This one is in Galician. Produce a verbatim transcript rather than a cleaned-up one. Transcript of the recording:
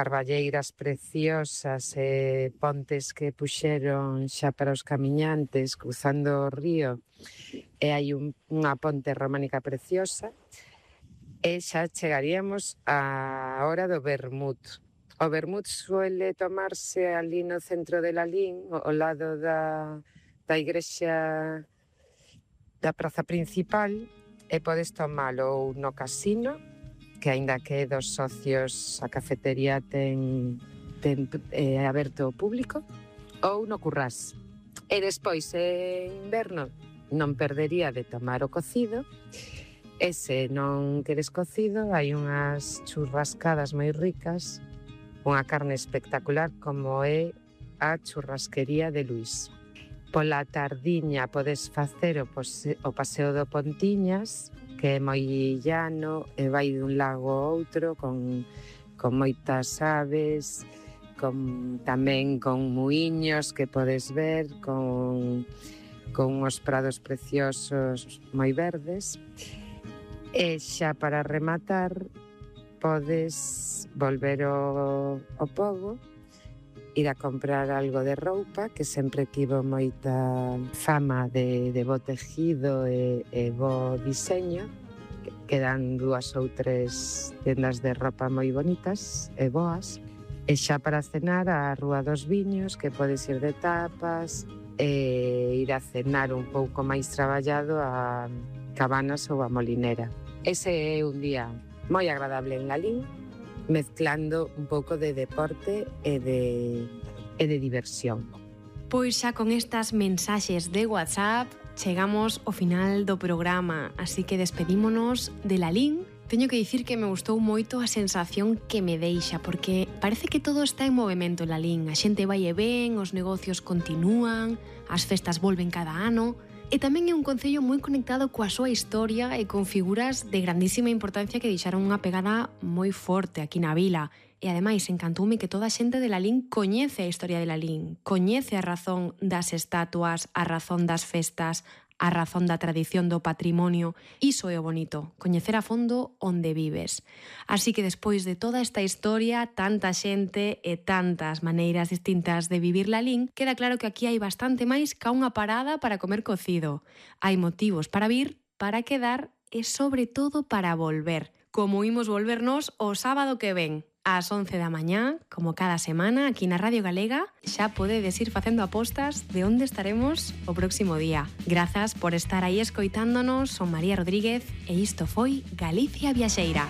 carballeiras preciosas e pontes que puxeron xa para os camiñantes cruzando o río, e hai un, unha ponte románica preciosa, e xa chegaríamos á hora do vermut. O vermut suele tomarse ali no centro de Lalín, ao lado da, da igrexa da praza principal, e podes tomalo ou no casino, que aínda que dos socios a cafetería ten, ten eh, aberto ao público, ou no Currás. E despois, en inverno, non perdería de tomar o cocido, e se non queres cocido, hai unhas churrascadas moi ricas, unha carne espectacular como é a churrasquería de Luís. Pola tardiña podes facer o, pose, o paseo do Pontiñas, que é moi llano e vai dun lago a outro con, con moitas aves, con, tamén con muiños que podes ver, con, con uns prados preciosos moi verdes. E xa para rematar podes volver ao, ao Pogo, ir a comprar algo de roupa, que sempre tivo moita fama de, de bo tejido e, e bo diseño. Quedan dúas ou tres tendas de roupa moi bonitas e boas. E xa para cenar a Rúa dos Viños, que podes ir de tapas e ir a cenar un pouco máis traballado a Cabanas ou a Molinera. Ese é un día moi agradable en Lalín, mezclando un pouco de deporte e de, e de diversión. Pois xa con estas mensaxes de WhatsApp chegamos ao final do programa, así que despedímonos de Lalín. Teño que dicir que me gustou moito a sensación que me deixa, porque parece que todo está en movimento en Lalín. A xente vai e ven, os negocios continúan, as festas volven cada ano. E tamén é un concello moi conectado coa súa historia e con figuras de grandísima importancia que deixaron unha pegada moi forte aquí na vila. E ademais encantoume que toda a xente de Lalín coñece a historia de Lalín, coñece a razón das estatuas, a razón das festas, a razón da tradición do patrimonio. Iso é o bonito, coñecer a fondo onde vives. Así que despois de toda esta historia, tanta xente e tantas maneiras distintas de vivir Lalín, queda claro que aquí hai bastante máis ca unha parada para comer cocido. Hai motivos para vir, para quedar e sobre todo para volver. Como imos volvernos o sábado que ven, ás once da mañá, como cada semana, aquí na Radio Galega, xa podedes ir facendo apostas de onde estaremos o próximo día. Grazas por estar aí escoitándonos, son María Rodríguez e isto foi Galicia Viaxeira.